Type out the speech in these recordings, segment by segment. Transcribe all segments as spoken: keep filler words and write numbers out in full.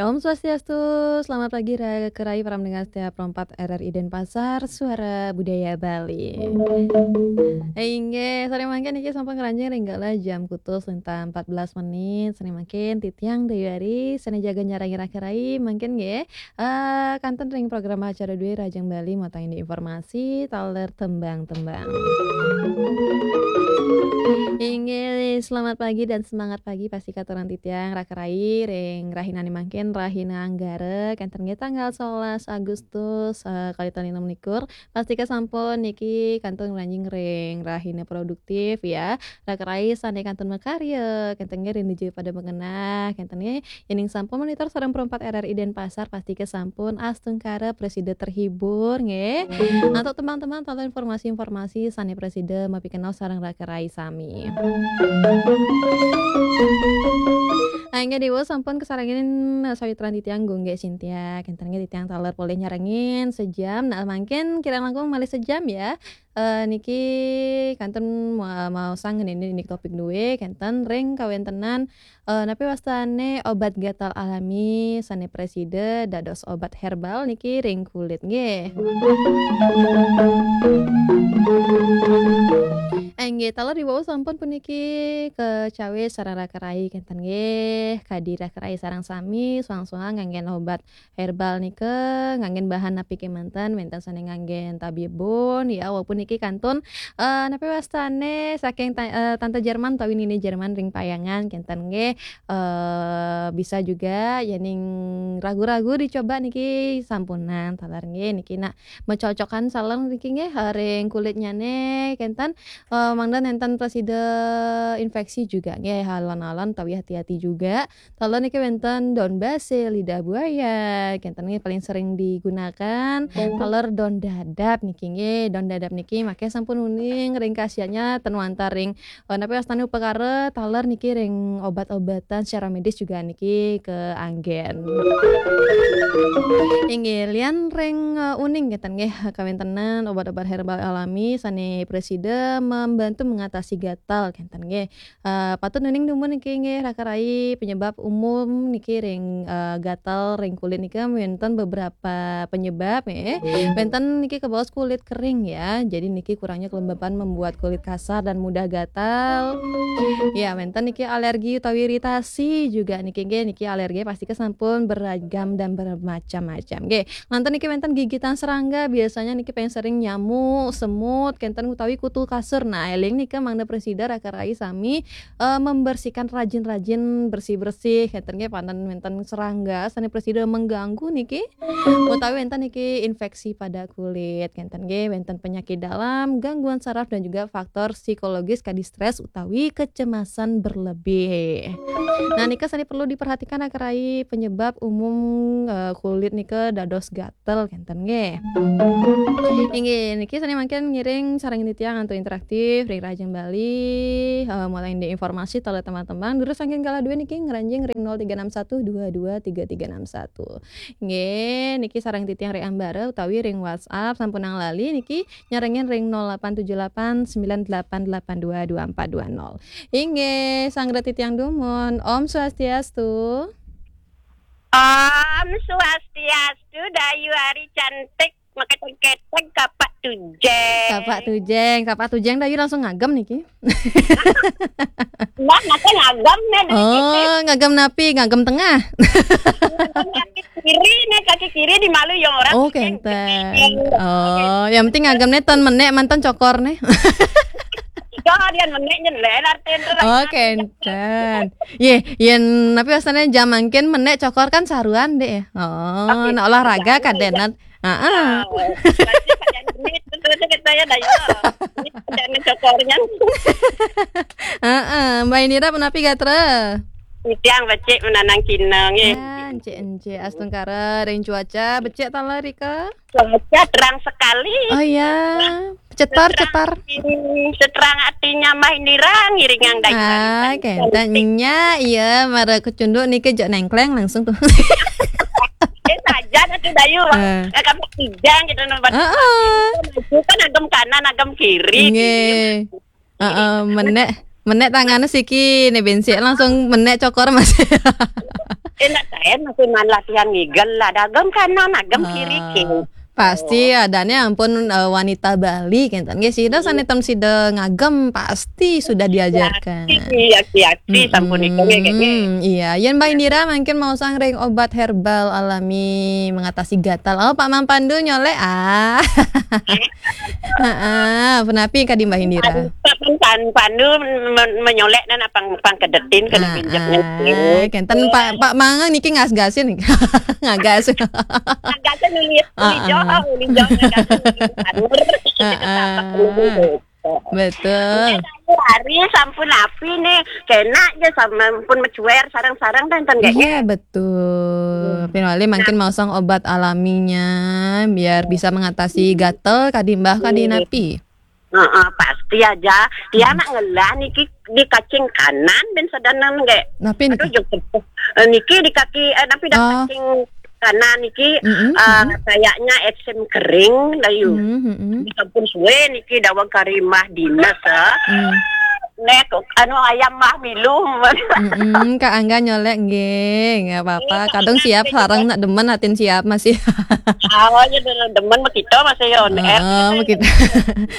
Om Swastiastu, selamat pagi Raka Rai para pendengar setia Pro empat R R I Denpasar, Suara Budaya Bali. Inggih, sané mangkin niki sampun ngranjing ring galah jam kutus lintang empat belas menit. Sané mangkin titiang Dayu Ari, sané jaga nyarangi Raka Rai, mangkin nggih. Eh, kantun ring program acara dué Rahajeng Bali, mawasta indik informasi, taler tembang-tembang. Inggih, selamat pagi dan semangat pagi pastika katuran titiang Raka Rai ring rahinané mangkin, rahina Anggara, kénten nggih tanggal sebelas Agustus, eh, kalih tali enam likur. Pastika sampun niki kantun ngranjing ring rahina produktif ya. Raka Rai sané kantun makarya, kénten nggih ring nuju pada magenah, kénten nggih. Yéning sampun monitor sareng Pro empat R R I Denpasar, pastika sampun astungkara prasida terhibur nggih. Antuk tembang-tembang taler informasi-informasi sané prasida mapikenoh sareng Raka Rai sami. Inggih, Déwa sampun kasarengin, eh, sawitran titiang Gunggik Cynthia. Kénten nggih titiang taler polih nyarengin sejam. Nah, mangkin kirang langkung malih sejam ya. Eh, niki kantun ma-, maosang ngenénin niki topik dué, kénten ring kawéntenan, eh, napi wastané obat gatal alami sané prasida dados obat herbal niki ring kulit nggih. Inggih, taler riwau sampun puniki kacawis sareng Raka Rai kénten nggih. Kadi Raka Rai sareng sami soang-soang nganggén obat herbal nika nganggén bahan napi kémanten, wénten sané nganggén tabibun, ya, walaupun niki kantun, eh, napi wastané saking ta-, eh, tante Jerman utawi nini Jerman ring Payangan, kénten nggih, eh, bisa juga, yéning ragu-ragu dicoba niki sampunang, taler nggih, niki nak macocokan sareng niki nggih, eh, ring kulitnyané, kénten, eh, mangda nénten prasida inféksi juga nggih, alon-alon utawi hati-hati juga. Taler niki wénten daun basil, lidah buaya, kénten nggih paling sering digunakan. Taler daun dadap niki nggih, daun dadap niki maké sampun uning ring khasiatnya ten wantah ring, eh, napi wastané upakara, taler niki ring obat-obatan secara medis juga niki kaanggén. Inggih, lian ring, eh, uning kénten nggih, kawéntenan obat-obat herbal alami sané prasida membantu mengatasi gatal kénten nggih. Eh, patut uning dumun niki nggih, Raka Rai, penyebab umum niki ring, eh, gatal ring kulit niki wénten beberapa penyebab nggih. Wénten niki kabaos kulit kering ya. Jadi niki kurangnya kelembapan membuat kulit kasar dan mudah gatal. Ya, wénten niki alergi utawi iritasi juga niki nggih, niki alergi pastika sampun beragam dan bermacam-macam. Nggih, lantas niki wénten gigitan serangga, biasanya niki paling sering nyamuk, semut, kénten utawi kutu kasur. Nah, éling nika mangda prasida Raka Rai sami, eh, membersihkan rajin-rajin bersih-bersih, kénten nggih, panten wénten serangga sané prasida mengganggu niki, utawi wénten niki inféksi pada kulit, kénten nggih, wénten penyakit dalam, gangguan saraf dan juga faktor psikologis kadi stres utawi kecemasan berlebih. Nah, nika sané perlu diperhatikan Raka Rai penyebab umum, eh, kulit nika dados gatal kénten nggih. Inggih, niki sané mangkin ngiring sareng titiang antuk interaktif ring Rahajeng Bali, eh, mawasta indik informasi taler tembang-tembang. Durus saking galah dué niki ngranjing ring nol tiga enam satu dua dua tiga tiga enam satu. Nggih, niki sareng titiang ring ambara utawi ring WhatsApp sampunang lali niki nyarengin ring nol delapan tujuh delapan sembilan delapan delapan dua dua empat dua nol. Inggih, sanggra titiang dumun. Om Swastiastu. Om Swastiastu, Dayu Ari cantik, maketek-ketek, kapak tujeng. Kapak tujeng, kapak tujeng Dayu langsung ngagem niki. Nah, maka ngagem nih. Oh, ngagem napi? Ngagem tengah. Ngagem kaki kiri nih, kaki kiri di malu yang orang. Oh, kénten. Oh, yang penting ngagem nih ten menék manten cokor nih. Kok harian menék nyelén artinya. Oh, kénten. Yé, yén napi wastané jam mangkin menék cokor kan saruan, Dék, ya? Oh, nak olahraga kadénan. Heeh. Ini kita ya, Dayu. Ini kerjaan cokornya. Heeh, Mbak Indira punapi gatra? Titiang becik menanang kinang, ya. Ah, encik, encik. Astungkara ring cuaca becik taler rika? Cuaca terang sekali. Oh iya. Cetar, cetar. Seterang hatinya Mbak Indira ngiringang Dayu. Ah, kénten nya, iya, mara kecunduk niki jok nengkleng langsung tuh. Eh, saja atuh Dayu. Eh. Eh, kamu kijang gitu, nomor Heeh. Maju kan agem kanan, agem kiri. Nggih. Heeh, menék, menék tangané siki, né bénsik langsung menék cokor, Mas. Eh, nak saya masih malah tiang ngigel lah. Dagem kanan, agem kiri, king. Pasti adanya ampun, eh, wanita Bali, kenten. Nggih, sida sané tem sida ngagem, pasti sudah diajarkan. Iya, iya, iya, sampun itu, nggih, nggih, nggih. Mm-mm, iya. Yen Mbak Indira mungkin mau sang ring obat herbal alami mengatasi gatal. Oh, Pak Mang Pandu nyolek, ah. Heeh, punapi kadi Mbak Indira? Pan, pan, pan, Pandu men-, menyolek dan apa pang kedetin kena pinjek. Ah, kenten Pak, Pak Mang niki ngas-gasin. Ngagas. Ngagas nulis, nulis Jawa, nulis Jawa, ngagas nulis Jawa. Heeh. Betul. Hari sampun api nih, kena aja sama pun mecuer sarang-sarang dan ten. Iya, betul. Pinwali mungkin mau sang obat alaminya biar bisa mengatasi gatel kadi Mbah kadi napi. Heeh, pasti aja. Tiang nak ngelah niki di kacing kanan ben sedanang nggih. Napi niki? Aduh, jeng sepuh. Eh, niki di kaki, eh, napi dah kacing kanan niki, eh, kayaknya eksem kering, dayu. Ini sampun suwe niki dawang karimah dinas, eh. Nek, anu, ayam mah milu. Mm-mm, Kak Angga nyolek nggih, nggak apa-apa. Kadang siap sarang nak demen atin siap masih. Oh, ya, demen begitu masih on air. Heeh, begitu.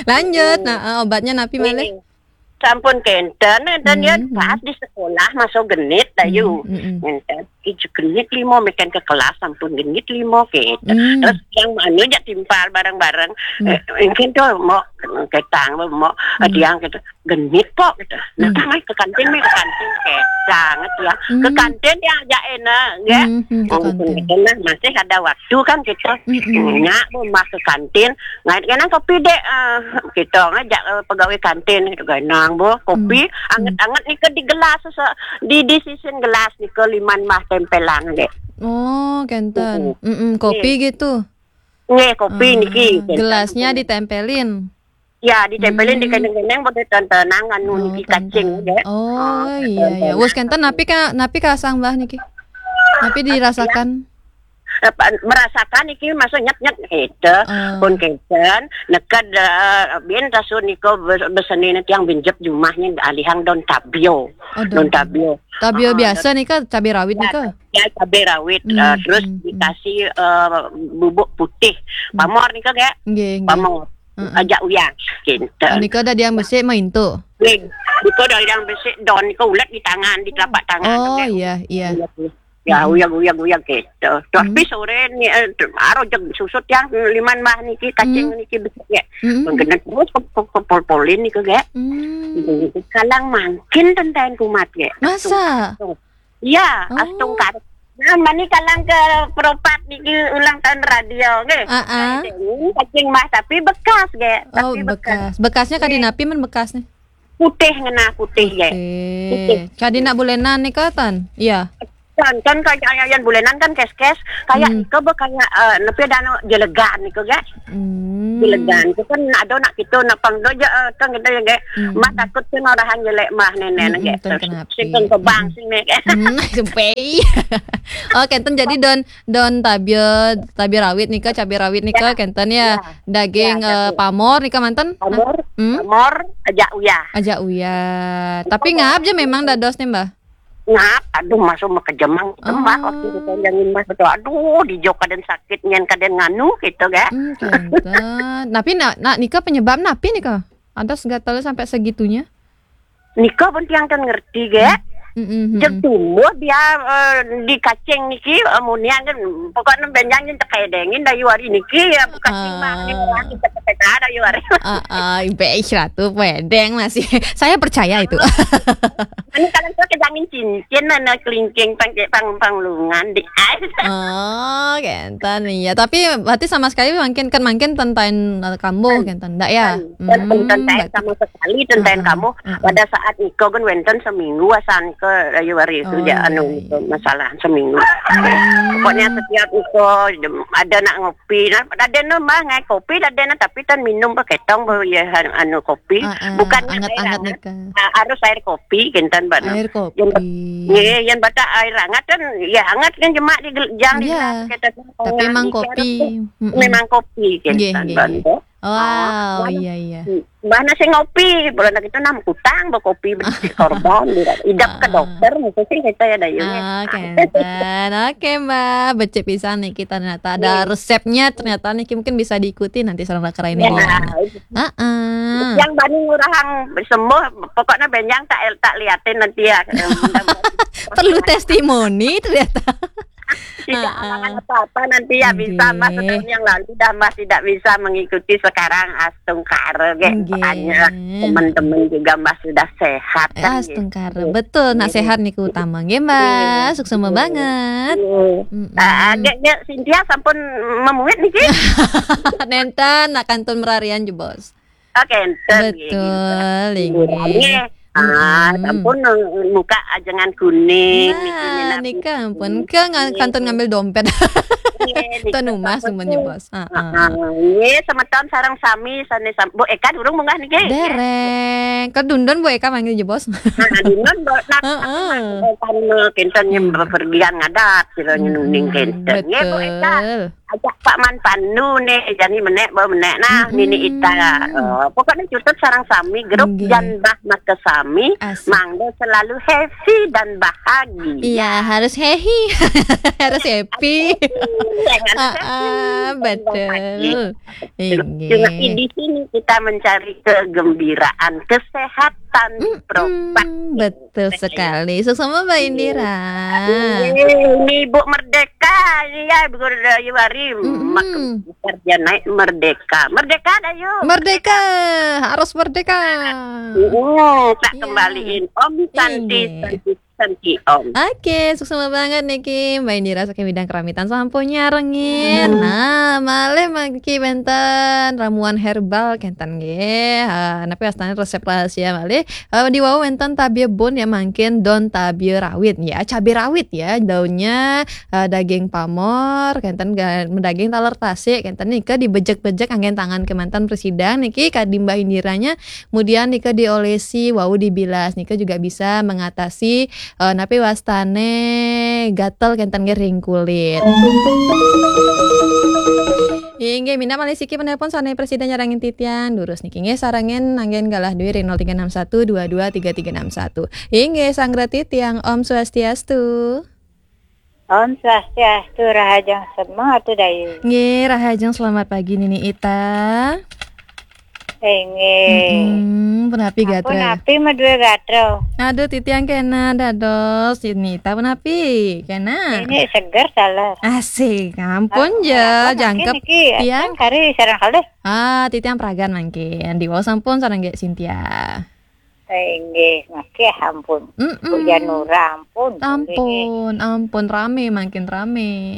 Lanjut, nah, eh, obatnya napi malih? Sampun kenten, enten ya pas di sekolah masuk genit, dayu. Enten, iju genit limo, meken ke kelas sampun genit limo, gitu. Terus yang anu jak timpal bareng-bareng. Eh, mungkin tuh mau ketang, mau tiang gitu. Genit kok gitu. Nah, tang ke kantin, mi ke kantin, ketang ya. Ke kantin ya aja enak, ya. Ke kantin. Nah, masih ada waktu kan gitu. Nyak, bu, mah ke kantin. Ngai kenang kopi dek, eh, kita ngajak, eh, pegawai kantin, gitu, ganang, bu, kopi, anget-anget nih ke di gelas, di, di sisin gelas nih ke liman mah tempelan dek. Oh, kenten. Mm-mm, kopi gitu. Nggih, kopi niki, kenten. Gelasnya ditempelin. Ya, ditempelin di keneng-keneng, pada tentenang anu niki kacing, ya. Oh, iya, iya. Wes kenten, napi ka, napi kasang bah niki? Napi dirasakan? Apa, merasakan iki masuk nyet-nyet gitu. Pun kenten, neked, eh, bin tasun niko bes-, besenine tiang binjep jumahnya alihang don tabio. Oh, don tabio. Tabio biasa nika, cabai rawit nika? Ya, cabai rawit, eh, terus dikasih, eh, bubuk putih. Pamor nika, gak? Nggih, nggih. Pamor. Ajak uyah, kenten. Nika ada yang besik mah intu. Nggih. Nika ada yang besik don, nika ulet di tangan, di telapak tangan. Oh, iya, iya. Ya, uyag, uyag, uyag gitu. Tapi sore ni, eh, aro jeg susut yang liman mah niki, kacing niki besik ya. Menggenat terus ke, ke, ke pol-polin niki, gak? Kalang mangkin tenten kumat, gak? Masa? Iya, astungkar. Nah, mani kalang ke peropat niki ulang tahun radio, nggih. Heeh. Kacing mah, tapi bekas, nggih. Oh, tapi bekas. Bekasnya kadi napi men bekas nih? Putih ngena, putih, nggih. Putih. Kadi nak bulenan nih, Kak, tan? Iya. Kan, kan kayak yang bulenan kan kes-kes, kayak iko be kayak, eh, nepi ada anu jelegan iko, gak? Jelegan itu kan ada nak kita, nak pang do je, eh, kan kita ya, gak? Mah takut kan orahan jelek mah nenek, gak? Terus sing kan kebang sing nih, gak? Sampai. Oh, kenten jadi don, don tabia, tabia rawit nika, cabai rawit nika, kenten ya. Daging, eh, pamor nika manten? Pamor, pamor, ajak uyah. Ajak uyah. Tapi ngap je memang dados nih, Mbah? Ngap, aduh, masuk mekejemang, tembak waktu ditonjangin mah, betul. Aduh, di jok kaden sakit, nyen kaden nganu, gitu, gak? Hmm, kenten. Tapi nak, nak nika penyebab napi nika? Ada gatal sampai segitunya? Nika pun tiang kan ngerti, gak? Jeg tumbuh dia, eh, di kacing niki, eh, munian kan, pokoknya benjangin tekedengin dayu hari niki, ya, kacing mah, ini orang kita kepeka dayu hari. Ah, ah, ibe ratu pedeng masih. Saya percaya itu. Ini kalian tuh kejangin cincin, mana kelingking, pang, pang, panglungan di. Oh, kenten, iya. Tapi berarti sama sekali mungkin kan, mungkin tentain, eh, kambuh, kenten, ndak ya? Kan, kan, hmm, tentain sama sekali, tentain kamu. Pada saat niko kan wenten seminggu asan ke rayu hari itu, oh, ya, anu, iya, itu masalah seminggu. Pokoknya setiap niko ada nak ngopi, nah, ada nambah ngai kopi, ada na, tapi tan minum pakai tong, baru ya, anu, kopi. Bukan anget-anget nika. Ah, harus air kopi, kenten, Mbak, no. Air kopi. Yang, nggih, yang batak air hangat kan, ya hangat kan, jemak di gel-, jang di gelas, kenten. Tapi memang kopi. Memang kopi, kenten, Mbak, no. Wow, iya, iya. Mbah nasi ngopi, bulan lagi itu enam kutang bawa kopi, beli korban, idap ke dokter, mesti sih kita ya, Dayu, ya. Ah, kenten. Oke, Mbak, becik pisan nih kita ternyata ada resepnya, ternyata nih mungkin bisa diikuti nanti sareng kerain ini. Heeh. Yang bani ngurahang sembuh, pokoknya benjang tak, tak liatin nanti ya. Perlu testimoni ternyata. Tidak halangan apa-apa nanti ya, bisa, Mbah, setahun yang lalu dah, Mbah tidak bisa mengikuti, sekarang astungkara, gé, banyak teman-teman juga, Mbah, sudah sehat, kan, astungkara. Betul, nak sehat niku utama, nggih, Mbah. Suksma banget. Ah, gé, gé, Cynthia sampun memuit niki. Nenten, nak kantun merarian jebos. Oke, enten, nggih. Betul, nggih. Ah, sampun, eh, muka ajengan kuning, niki, nah, minat nika ampun. Ke ngan-, kantun ngambil dompet. Nggih, nika tuan rumah sampun, sampun nyebos. Heeh. Nggih, semeton sareng sami, sane sam-, Bu Eka durung munggah niki? Dereng. Ke Dundun Bu Eka manggil jebos. Nah, Dundun, Bu, nah, heeh. Kan, eh, kinten yang bepergian ngadat, kira nuning kinten. Nggih, Bu Eka. Betul. Ajak Pak Man Pandu nih, jani menek, bawa menek. Nah, Nini Ita. Eh, pokoknya cutet sarang sami, grup Jan Bah Mata Sami, asik. Mangga selalu happy dan bahagia. Iya, harus happy. Harus happy. Jangan sedih, betul. Inggih. Cuma di sini kita mencari kegembiraan, kesehatan, betul sekali. Suksma, Mbak Indira. Ini Ibu Merdeka, iya, Bu Dayu Wari. Mak-, dia naik merdeka. Merdeka, Dayu. Merdeka, harus merdeka. Uh, tak kembaliin Om Santi, Santi, Santi Om. Oke, suksma banget niki Mbak Indira saking Widang Keramitan sampun nyarengin. Nah, malih mangki wenten ramuan herbal kenten nggih. Eh, napi wastane resep rahasia malih. Eh, di wau wenten tabia bun ya, mangkin daun tabia rawit ya, cabai rawit ya, daunnya, eh, daging pamor, kenten ga-, daging taler tasik, kenten nika dibejek-bejek anggen tangan kemanten presidang niki kadi Mbah Indiranya, kemudian nika diolesi wau dibilas, nika juga bisa mengatasi, eh, napi wastane gatel kenten nggih ring kulit. Inggih, minab malih siki penelpon sane presida nyarengin titiang. Durus niki nggih sarengin anggen galah duit ring nol tiga enam satu dua dua tiga tiga enam satu. Inggih, Sanggra Titiang, Om Swastiastu. Om Swastiastu, rahajeng semeng atuh, Dayu. Nggih, rahajeng selamat pagi Nini Ita. Inggih. Mm-mm, punapi gatra? Ampun, napi madue gatra? Aduh, titiang kena dados Nini Ita punapi? Kena. Ini seger salah. Asik, ampun. Ah, ya, apa jangkep mungkin niki, tiang? Kan kari sareng kalih. Ah, titiang pragan mangkin. Di wau sampun sareng Gek Cynthia. Eh, inggih, nggih, ampun. Mm-mm. Bu Yanura, ampun. Ampun, ampun, rame, makin rame.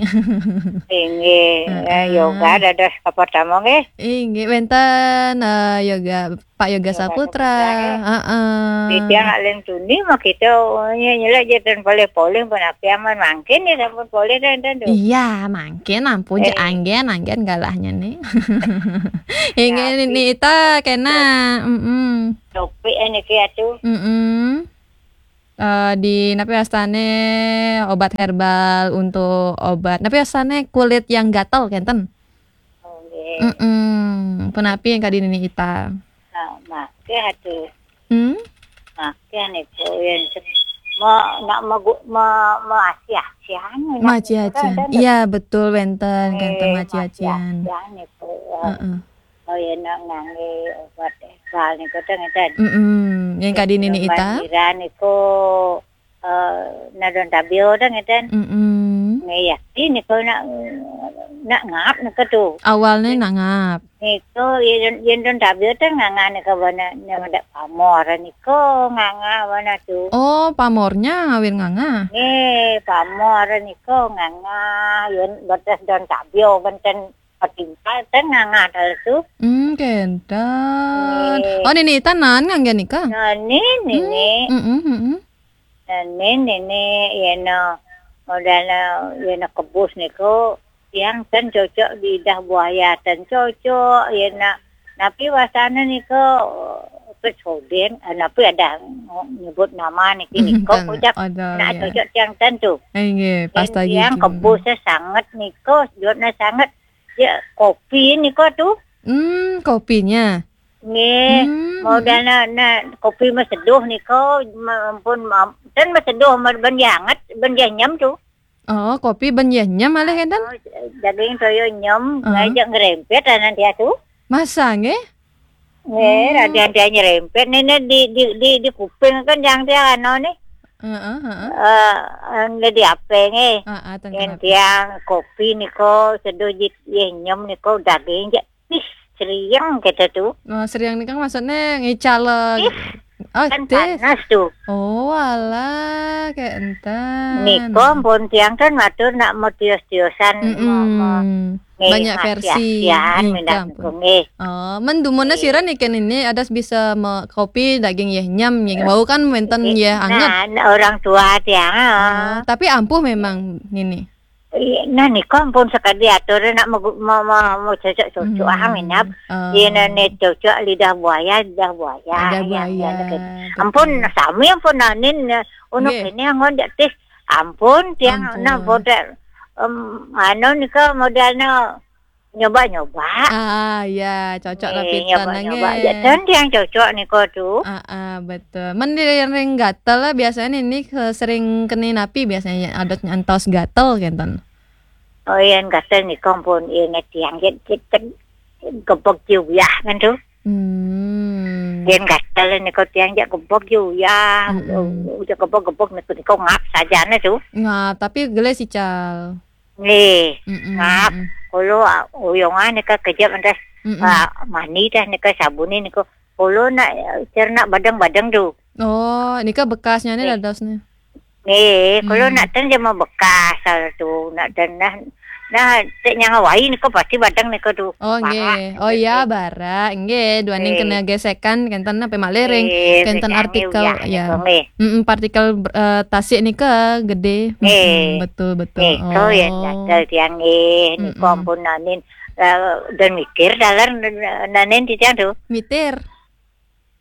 Inggih, eh, heeh. Yoga dados kapertama, nggih. Inggih, wenten, eh, yoga, Pak Yoga Saputra. Yoga Saputra, nggih. Heeh. Titiang nak len tuni mah kita, oh, nyelek je ten polih-polih pun api aman, mangkin ya sampun polih ten, ten, tuh. Iya, mangkin ampun, je anggen, anggen galahnya nih. Inggih, Nini Ita kena. Mm-mm. Topik, eh, niki atuh. Mm-mm. Eh, di napi wastane obat herbal untuk obat. Napi wastane kulit yang gatel kenten? Oh, nggih. Mm-mm. Punapi yang kadi Nini Ita? Nah, make atuh. Hmm? Make niku yen se-, me-, nak megu-, me-, meaci-acian, nak maci-acian. Iya, betul, wenten, kenten maci-acian. Maci-acian niku, eh. Heeh. Oh, ya, nak ngangge obat herbal niku teh ngeten. Mm-mm. Yang kadi Nini Ita? Banjiran niku, eh, nadon tabio teh ngeten. Mm-mm. Nggih, ya, ini niku nak, nak ngap niku tuh. Awalnya nak ngap. Niku, yen, yen don tabio teh nganga niku bana, nek pamor niku nganga bana tuh. Oh, pamornya ngawin nganga? Nggih, pamor niku nganga, yen betes don tabio benten Patimpal ten ngangah dalu tu. Hmm, kenten. Nggih. Oh, Nini Ita nan ngangge nika? Nani, Nini. Hmm, mm, mm, mm. Nani, Nini, yeno modal, yeno kebus niku, tiang ten cocok lidah buaya ten cocok, yeno napi wasana niku, pesoden, eh, napi ada nyebut nama niki, hmm, niku ten, cocok. Ada, nak ya. Cocok tiang ten tu. Eh, nggih, pas lagi tiang kebus sanget niku, jodna sanget. Ya, kopi niku tu. Hmm, kopinya. Nggih, hmm, modal na, na kopi mah seduh nika, ma-, ampun, ma-, ten mah seduh, ma-, ban yah anget, ban yah nyem tu. Oh, kopi ban yah nyem malih enten? Oh, daging toya nyem, ah, ngajak ngerempet anan dia tu. Masa nggih? Nggih, hmm, radian dia nyerempet, nene di, di, di, di kuping kan yang dia anu nih. Heeh, heeh. Eh, anu di apa nggih? Heeh, ten yen kenapa? Tiang kopi nika seduh jit yah nyem nika daging jak Ih, seriang kita tu. Oh, seriang ni kan maksudnya ngical, eh, ih, oh, kan teh. Panas tu. Oh, alah, kayak enten. Nika pun tiang kan matur nak mau tios-tiosan, mm-mm, mau, mau banyak versi. Khasiat-khasian, ih, minat ampun. Nggih. Oh, men dumunnya sira nih kan ini ada bisa me-, kopi daging yah nyem, yah bau kan wenten yah anget. Nah, orang tua tiang, oh, ah, tapi ampuh memang nini. Iya, nah, nika ampun sekadi atur nak megu-, mau, mau, mau cocok-cocok, hmm, ah, minap. Oh. Iya, nah, nih cocok lidah buaya, lidah buaya. Lidah buaya, ya, betul. Ampun, sami ampun nanin, ya. Ono kene angon jak tis. Ampun, tiang, ampun. Nah, bodak, em, anu nika modalnya nyoba-nyoba. Ah, ya, cocok. Eh, lah pita nyoba-nyoba. Nangge. Jak ten tiang cocok nika tu. Ah, ah, betul. Men di ring gatel lah biasanya ini ke-, sering kena napi biasanya ada nyantos gatel kenten. Oh, yen gatel nika pun yen tiang jet, jet, jet gebek juyah kan tu. Hmm. Yen gatel nika tiang jet gebek juyah, mm-mm, jet gebek-gebek nika, nika ngap sajane tu. Ngap, tapi gelis ical. Nggih, mm-mm, ngap, mm-mm. Kulo, ah, uyungan nika kejep entas, mm-mm, ah, mani dah nika sabuni nika. Kulo nak, eh, cerna badeng-badeng tu. Oh, nika bekasnya ni. Nggih. Dados ni. Nggih, kulo, hmm, nak ten jama bekas hal tu, nak ten nah, nah, cek nyang awai nika pasti badeng nika tu. Oh, nggih. Barak, oh, ya, nggih. Barak. Nggih, duaning, nggih, kena gesekan, kenten apa malih ring, nggih, kenten artikel, ya. Nika, nggih. Mm-mm, partikel, eh, tasik nika gede. Nggih. Mm-mm, betul, betul. Nika ya, oh, gatel tiang nggih. Nika, mm-mm, ampun nanin, eh, dan mikir dalar nanin titiang tu. Mitir.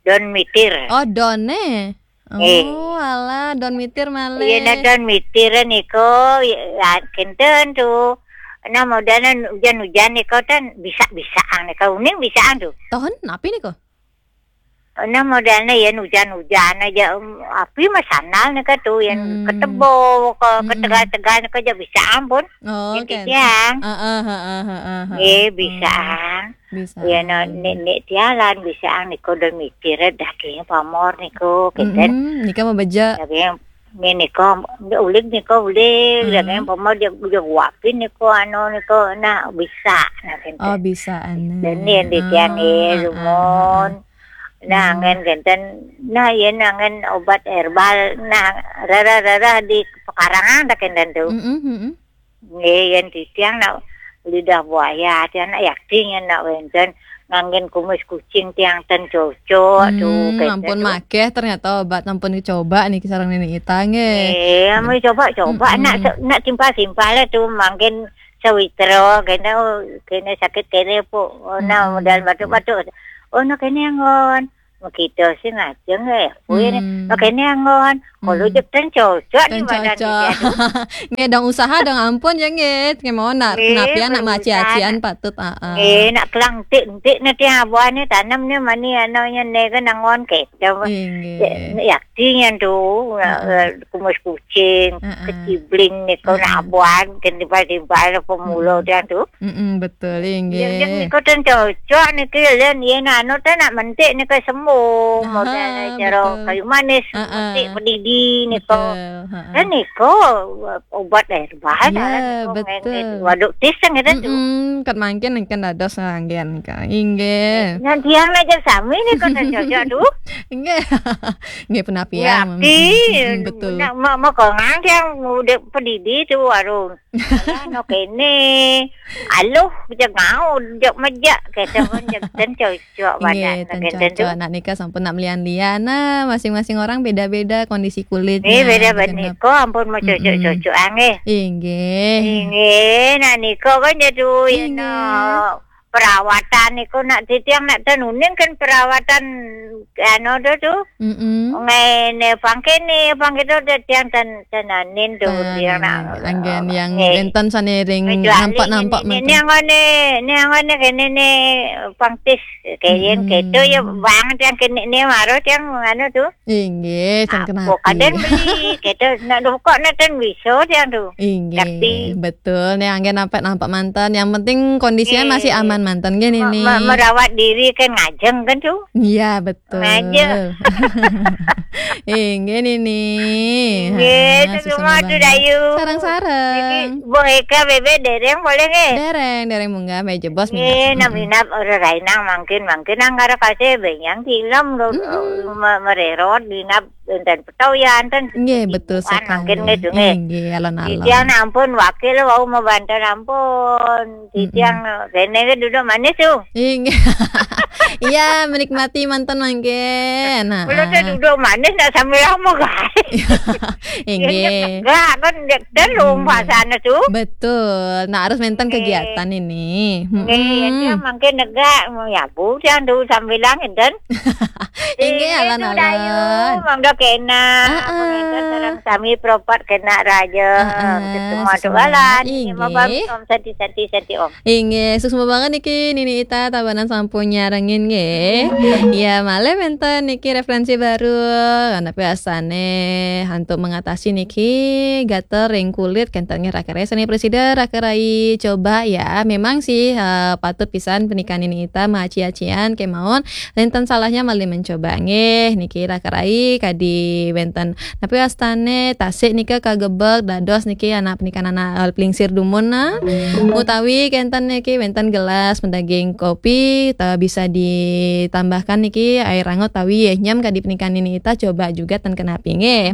Don mitir. Oh, done. Eh. Oh, alah, don mitir malih. Iya, nah, don mitir niko, ya, kenten tu. Nah, modalnya hujan-hujan niko kan bisa-bisaan niko. Uning bisaan tu. Tahun napi niko? Nah, modalnya yen hujan-hujan aja, em, api mah sandal niko tu, yen, hmm, ketebo, ke, hmm, ketegal-tegal niko aja bisa ampun. Oh, jadi kan. Tiang. Heeh, heeh, heeh, heeh. Eh, bisa. Oh. Bisa. Ya, no, nek, nek tialan bisa niko don mitir daging pamor niko, kenten. Mm-mm, nika mabeja. Daging ni niko, uling niko uling, mm-mm, daging pamor dia, dia guapin niko, anu niko, nah, bisa, nah, kenten. Oh, bisa, anu. Dan ni yang di tiang ni, heeh, heeh, lumun. Heeh. Nah, hmm, ngen kenten, nah, ya, nah, ngen obat herbal, nah, rara-rara di pekarangan dah kenten tu. Mm-mm, mm-mm. Nggih, yen titiang nak lidah buaya, tiang nak yakin yen nak wenten nganggen kumis kucing tiang ten cocok tu, hmm, kenten ampun tu. Makeh ternyata obat ampun dicoba niki sareng Nini Ita nggih. Eh, ampun coba-coba, mm-mm, nak se-, nak simpal-simpal lah tu mangkin sawitra kene, oh, kene sakit kene pu. Oh, nah, mm-mm, modal batuk-batuk. Oh, nah kene anggon. Makita sing ajeng eh. Kuwi, hmm, makene anggon. Kalau, hmm, jek ten cocok ni badan cocok. Kita tu. Nggih, dong usaha dong ampun ya nggih. Nggih, mau nak, nggih, napi anak maci-acian patut, ah, ah. Nggih, nak kelang entik-entik nanti abuahnya tanam ni mani anaknya ni kan anggon kita. Inggih. Ya, yakti yang tu, heeh, eh, kumis kucing, heeh, kecibling ni kau, heeh, nak abuah, kan tiba-tiba lah pemula, hmm, dia tu. Mm-mm, betul, inggih. Yang, yang ni kau ten cocok ni ke, len, ye nak anu ten nak mentik ni ke sembuh. Aha, modal cara betul. Kayu manis, ah, ah, mentik pedidi ni kau. Betul, ha, ah. Dan ni kau obat herbal, ya, lah ni kau betul. Main, main waduk tis kan kata tu. Mm-mm, kat mangkin kan dados anggen kan. Inggih. Yang tiang aja sami ni kau ten cocok tu. Inggih. Inggih penapian. Ya, mm-mm, betul. Nak mau, mau kau ngang tiang udah pedidi tu warung. Alah, no kene. Aluh, jek ngau, jek mejak, kata pun jek ten cocok badan, inggih, ten kenten tu. Cocok. Anak nikah sampun nak melian-lian. Nah, masing-masing orang beda-beda kondisi kulit. Eh, nah, beda-beda niko, ampun mau cocok-cocok, mm-mm, anggih. Inggih. Inggih, nak niko kan jadu, ya, inggih, no. perawatan iku nak titiang nak ten uning kan perawatan anu tu tu. Mm-mm. Ngene pangkene pangkene tu titiang ten tenanin tu titiang nak. Anggen yang nenten saniring nampak-nampak ini ngone ini ngone kene ne pangtis kayen keto ya bang tiang kene ne maro tiang anu tu. Inggih, ten kena. Kadang beli keto nak kok nak ten bisa tiang tu. Inggih, betul. Nih anggen nampak-nampak manten. Yang penting kondisinya masih aman manten gini nih. Merawat diri kan ngajeng kan tu. Iya, betul. Ngajeng. Inggih ini. Inggih, semua tu dayu. Sarang-sarang. Boheka bebe dereng boleh nggih? Dereng, dereng munggah meja bos. Nggih, minap orang rainang mangkin mangkin angkara kasih benyang tilam lo mererot dinap enten petawian ten. Nggih, betul sekali. Mangkin nggih tu nggih. Nggih, alon-alon. Titiang ampun wakil wau mabanten ampun. Titiang kene ke duduk manis tu. Inggih. Iya, menikmati manten mangkin. Nah. Kalau saya duduk manis nak sambil lama guys. Inggih. Enggak kan dia telung pasana tu. Betul. Nah, harus menten kegiatan ini. Nggih, ya dia mangkin negak ya bu jangan tu sambilang enten. Inggih, alon-alon. Mangga kena. Heeh. Sareng sami propat kena raja. Heeh, semua tu balan. Inggih. Om santi santi santi om. Inggih, suksma banget niki Nini Ita Tabanan sampun nyarengin nggih. Ya, malih wenten niki referensi baru. Karena biasane untuk mengatasi niki gatel ring kulit kenten nggih raka rai sane presida raka rai coba ya. Memang sih eh, patut pisan pernikahan Nini Ita maaci-acian kemawon. Enten salahnya malih mencoba nggih niki raka rai kadi wenten napi wastane tasik nika kagebek dados niki anak pernikahan anak eh, plingsir dumun nah. Utawi kenten niki wenten gelas pendaging kopi ta bisa ditambahkan niki air anget tawi ya nyam kadi pernikahan Nini Ita coba juga ten kenapi nggih.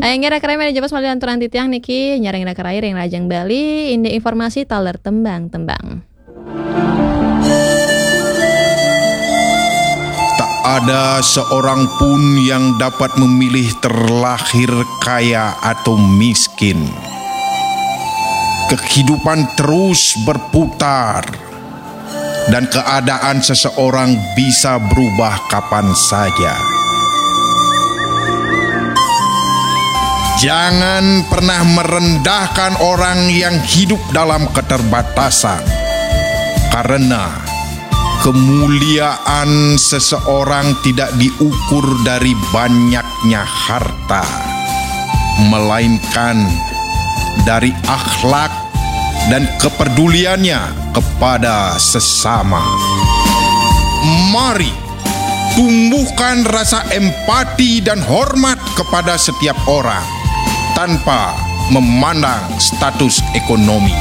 Ayo nggih raka rai mari jebos malih anturan titiang niki nyareng raka rai ring Rajang Bali indik informasi taler tembang-tembang. Tak ada seorang pun yang dapat memilih terlahir kaya atau miskin. Kehidupan terus berputar dan keadaan seseorang bisa berubah kapan saja. Jangan pernah merendahkan orang yang hidup dalam keterbatasan, karena kemuliaan seseorang tidak diukur dari banyaknya harta, melainkan dari akhlak dan kepeduliannya kepada sesama. Mari tumbuhkan rasa empati dan hormat kepada setiap orang tanpa memandang status ekonomi.